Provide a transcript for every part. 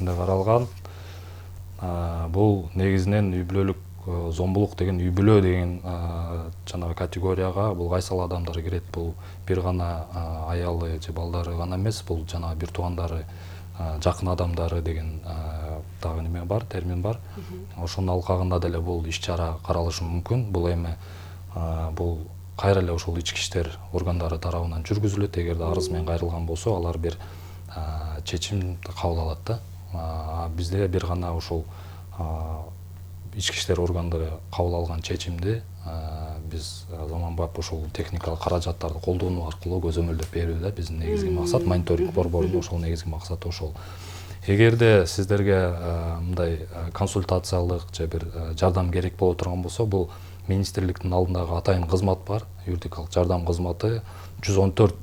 кодексинде каралган. Бул негизинен үй бүлөлүк зомбулук деген, үй бүлө деген жанагы категорияга бул кайсыл адамдар кирет. Бул бир гана аялы же балдары гана эмес, бул жанагы бир туугандары, жакын адамдары деген дагы неме бар, термин бар. Ошонун алкагында деле бул иш-чара каралышы мүмкүн. Бул эми бул кайра эле ошол ички иштер органдары тарабынан жүргүзүлөт. Эгерде арыз менен кайрылган болсо, алар бир чечим кабыл алат да. Бизде бир гана ошол ички иштер органдары кабыл алган чечимди биз заманбап ушул техникалык каражаттарды колдонуу аркылуу көзөмөлдөп берүү да биздин негизги максат. Мониторинг борборунун ошол негизги максаты ошол. Эгерде сиздерге мындай консультациялык же бир жардам керек боло турган болсо, бул министрликтин алдындагы атайын кызмат бар, юридикалык жардам кызматы. 114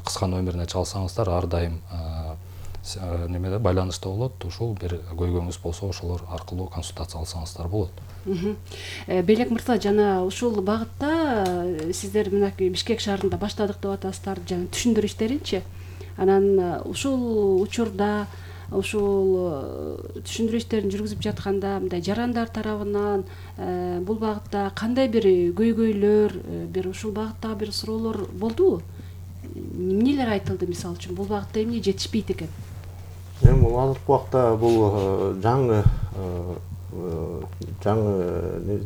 кыска номерине чалсаңыздар, ар дайым немеде байланышта болот. Ушул бир көйгөйүңүз болсо, ошолор аркылуу консультация алсаңыздар болот. Белек мырза, жана ушул багытта сиздер мынакей Бишкек шаарында баштадык деп атасыздар, жана түшүндүрүү иштеринчи. Анан ушул учурда ушул түшүндүрүү иштерин жүргүзүп жатканда мындай жарандар тарабынан бул багытта кандай бир көйгөйлөр, бир ушул багытта бир суроолор болдубу? Эмнелер айтылды, мисалы үчүн бул багытта эмне жетишпейт экен? Бул азыркы убакта бул жаңы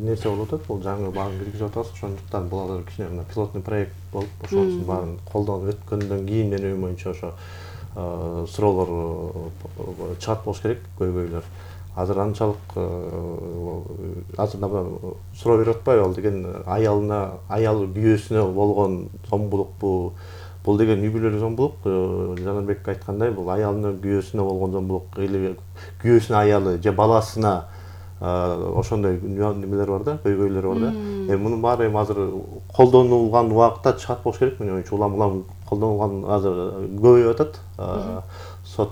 нерсе болуп атат, бул жаңы багын киргизип атабыз. Ошондуктан бул азыр кичине мына пилотный проект болуп, ошонун баарын колдонуп өткөндөн кийин менин оюм боюнча ошо суроолор чыгат болуш керек, көйгөйлөр. Азыр анчалык азыр суроо берип атпайбы, ал деген аялы күйөөсүнө болгон зомбулукпу? Бул деген үй бүлөлүк зомбулук, Жанарбек айткандай, бул аялынын күйөөсүнө болгон зомбулук, или күйөөсүнүн аялы же баласына ошондой немелер бар да, көйгөйлөр бар да. Мунун баары эми азыр колдонулган убакытта чыгат болуш керек. Менин оюмча улам колдонулган азыр көбөйүп атат. Сот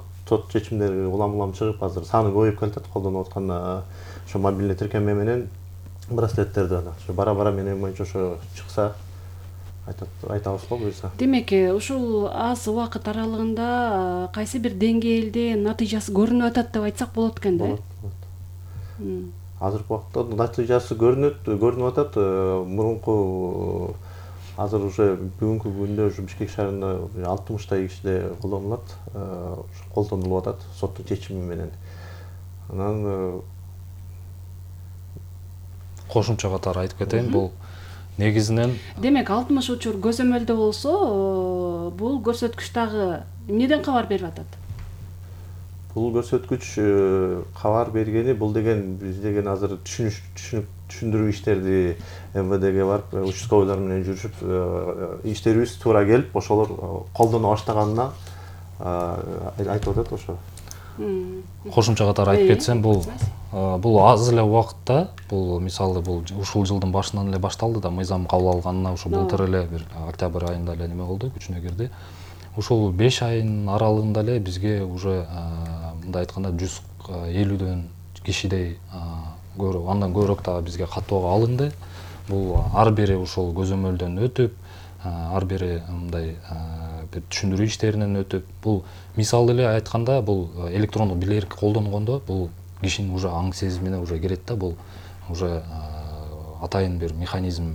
чечимдери улам чыгып, азыр саны көбөйүп келатат колдонуп аткан ошо мобилдик тиркеме менен браслеттерди. Ошо бара менин оюмча ошо чыкса айтабыз го буюрса. Демек, ушул аз убакыт аралыгында кайсы бир деңгээлде натыйжасы көрүнүп атат деп айтсак болот экен да? Азыркы убакта натыйжасы көрүнүп атат. Мурунку азыр уже бүгүнкү күндө ушу Бишкек шаарында 60 кишиде колдонулат, колдонулуп атат соттун чечими менен. Анан кошумча катары айтып кетейин, бул негизинен демек 60 учур көзөмөлдө болсо, бул көрсөткүч дагы эмнеден кабар берип атат? Бул көрсөткүч кабар бергени, бул деген биз деген азыр түшүндүрүү иштерди МВДге барып, участковыйлар менен жүрүшүп, иштерибиз туура келип, ошолор колдоно баштаганына айтып атат ошо. Кошумча катары айтып кетсем, бул аз эле убакытта, бул мисалы бул ушул жылдын башынан эле башталды да, мыйзам кабыл алганына ушу былтыр эле бир октябрь айында эле неме болду, күчүнө кирди. Ушул 5 айдын аралыгында эле бизге уже мындай айтканда 150дөн кишидей андан көбүрөөк дагы бизге каттоого алынды. Бул ар бири ушул көзөмөлдөн өтүп, ар бири мындай бир түшүндүрүү иштеринен өтүп, бул мисалы эле айтканда, бул электрондук билерик колдонгондо бул кишинин уже аң сезимине уже кирет да, бул уже атайын бир механизм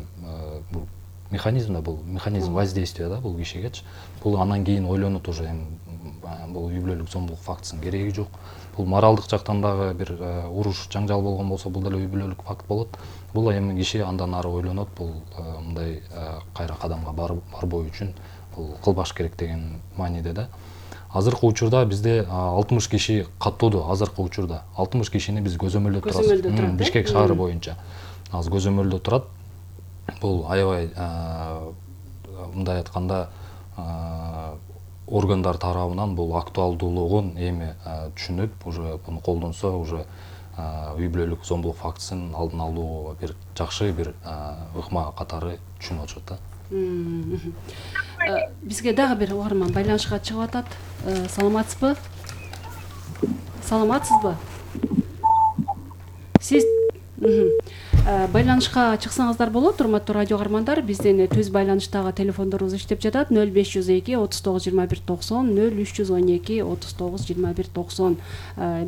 да, бул механизм воздействия да бул кишигечи. Бул анан кийин ойлонот уже, бул үй бүлөлүк зомбулук фактысынын кереги жок. Бул моралдык жактан дагы бир уруш, жаңжал болгон болсо, бул деле үй бүлөлүк факт болот. Бул эми киши андан ары ойлонот, бул мындай кайра кадамга барбоо үчүн бул кылбаш керек деген мааниде да. Азыркы учурда бизде 60 киши каттоодо, азыркы учурда 60 кишини биз көзөмөлдөп турабыз. Бишкек шаары боюнча азыр көзөмөлдө турат. Бул аябай мындай айтканда органдар тарабынан бул актуалдуулугун эми түшүнүп, уже буну колдонсо, уже үй бүлөлүк зомбулук фактысынын алдын алуу бир жакшы бир ыкма катары түшүнүп атышат да. Бизге дагы бир угарман байланышка чыгып атат. Саламатсызбы? Сиз байланышка чыксаңыздар болот, урматтуу радио угармандар. Биздин түз байланыштагы телефондорубуз иштеп жатат. 0502 39 21 90, 0312 39 21 90.